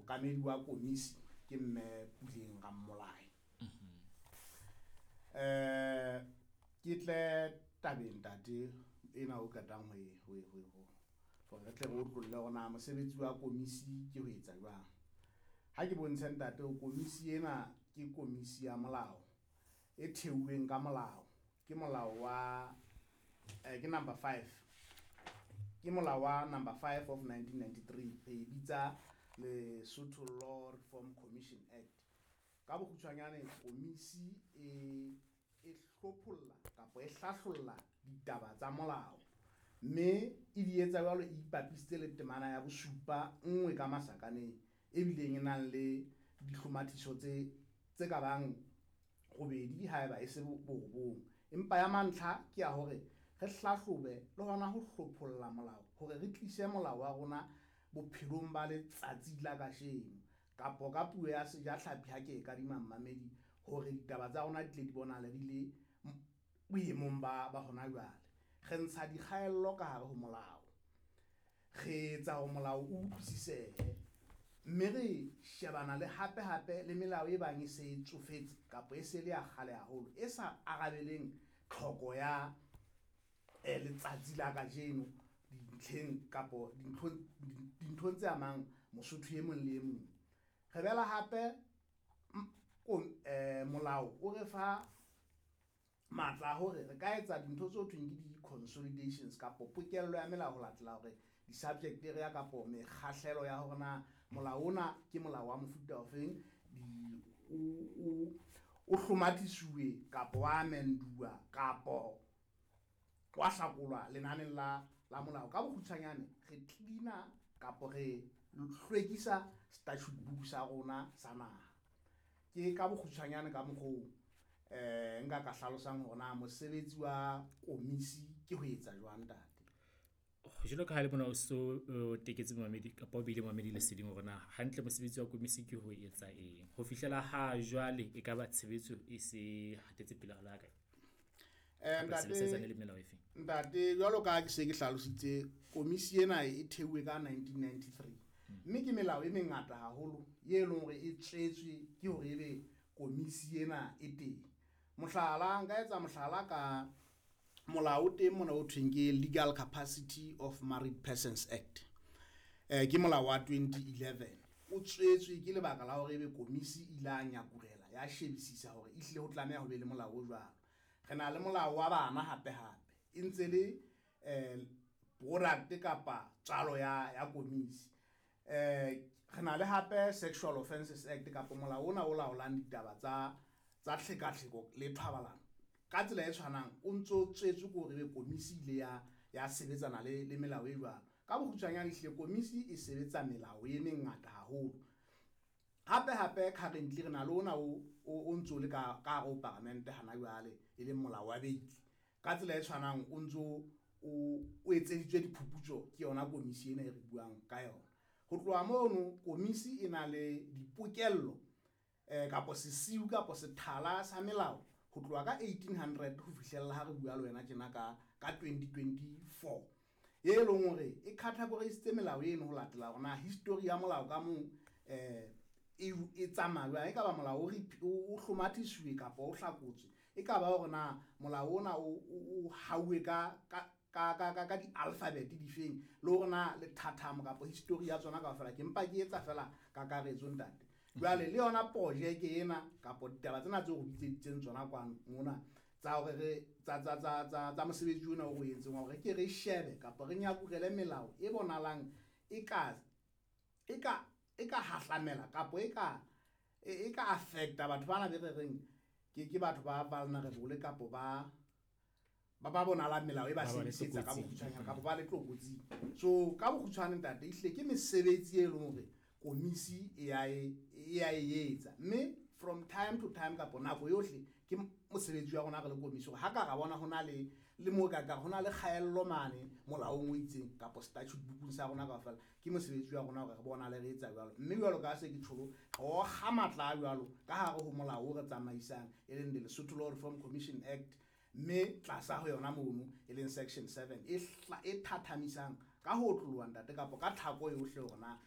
Mookamedi wa komisi ke Mme Puleng Rammolai. Ke tle tabeng, ntate, ena o qetang ho e ho e- ho e- ho hore re tle re otlolle hore na mosebetsi wa komisi ke ho etsa jwang. Ha ke bontshe, ntate, hore komisi ena ke komisi ya molao e theuweng ka molao. Ke molao wa ke number 5, ke molao wa number 5 of 1993. Re e bitsa Lesotho Law Reform Commission Act. Ka bokgutshwanyane, komisi e hlopholla kapa e hlahlolla ditaba tsa molao, mme e di etsa jwalo e ipapisitse le temana ya bosupa nngwe ka masakaneng, ebileng e nang le dihlomathiso tse ka bang robedi haeba e se borobong. Empa ya mantlha ke ya hore re hlahlobe le hona ho hlopholla molao hore re tlise molao wa rona bophelong ba letsatsi la kasheno, kapo ka puo ya sejatlhapi ha ke e kadima mmamedi, hore ditaba tsa rona di tle di bonahale di le boemong ba hona jwale. Re ntsha dikgaello ka hare ho molao, re etsa hore molao o utlwisisehe, mme re shebana le hape hape le melao e bang e se e tsofetse kapa e se le ya kgale haholo, e sa arabeleng tlhoko ya letsatsi la kajeno dintlheng kapo dinthong tse amang Mosotho e mong le e mong. Re bela hape molao o re fa matla a hore re ka etsa dintho tse ho thweng ke di-consolidations kapo pokello ya melao ho latela hore di-subject area kapo mekgahlelo ya hore na molao ona ke molao wa mofuta ofeng, o hlomathisuwe kapo wa amenduwa kapo wa hlakolwa lenaneng la molao. Ka bokgutshwanyane, re cleaner kapo re hlwekisa statute book sa rona sa naha. Ke ka bokgutshwanyane ka mokgoo nka ka hlalosang hore na mosebetsi wa komisi ke ho etsa jwang, ntate. Jwalo ka ha le mona o so o teketse momamedi kapa o beile momamedi leseding hore na hantle mosebetsi wa komisi ke ho etsa eng. Ho fihlela ha jwale, e ka ba tshebetso e se hatetse pele ha le kae? Kapa se le sebetsane le melao e feng? Ntate, jwalo ka ha ke se ke hlalositse, komisi ena e theuwe ka 1993, mme ke melao e mengata haholo ye leng hore e tswetswe ke hore ebe komisi ena e teng. Mohlala, nka etsa mohlala ka molao o teng mona o thweng ke Legal Capacity of Married Persons Act. Ke molao wa 2011, o tswetswe ke lebaka la hore ebe komisi e ile a nyakurela ya shebisisa hore ehlile ho tlameha ho be le molao o jwalo. Re na le molao wa bana hape hape e ntse le product kapa tswalo ya komisi. Re na le hape Sexual Offences Act kapa molao ona o laolang ditaba tsa tlhekatlheko le thobalano. Ka tsela e tshwanang o ntso tswetswe ke hore ebe komisi ile ya sebetsana le melao e jwalo. Ka bokgutshwanyane, ehlile komisi e sebetsa melao e mengata haholo. Hape hape, currently re na le ona o ntso le ka hare ho paramente hana jwale, e leng molao wa beili. Ka tsela e tshwanang o ntso o etseditswe diphuputso ke yona komisi ena e re buang ka yona. Ho tloha mono, komisi e na le dipokello kapo sesiu kapo sethala sa melao ho tloha ka 1800 ho fihlella ha re bua le wena tjena ka 2024, e leng hore e categorisitse melao eno ho latela hore na history ya molao ka mong e tsamaya jwang. E ka ba molao o hlomathisuwe kapa o hlakotswe, e ka ba hore na molao ona o hauwe ka di-alphabet difeng, le hore na lethathamo kapa history ya tsona kaofela. Ke mpa ke etsa fela kakaretso, ntate. Jwale le yona projeke ena kapo ditaba tsena tseo re bitseditseng tsona kwano mona tsa hore re tsa mosebetsi ona o re o entseng wa hore ke re shebe kapa re nyakurele melao e bonahalang e ka hahlamela kapo e ka affecta batho bana be re reng ke batho ba vulnerable kapo ba bonahalang melao e ba Ba ba le sebedisetsa ka tlokotsing. Bokgutshwanyane kapo ba le tlokotsing. So ka bokgutshwane, ntate, ehlile ke mesebetsi e leng hore komisi e ya e etsa, mme from time to time kapo nako yohle ke mosebetsi wa rona re le komisi hore ha ka ra bona ho na le mo ka ho na le kgaello mane molaong o itseng kapo statute bookung sa rona kaofela, ke mosebetsi wa rona hore re bona le re etsa jwalo. Mme jwalo ka ha se ke tjholo, re okga matla a jwalo ka hare ho molao o re tsamaisang, e leng the Lesotho Law Reform Commission Act, mme tlasa ho yona mono e leng section 7 e thathamisang ka ho otloloha, ntate, kapo ka tlhako yohle hore na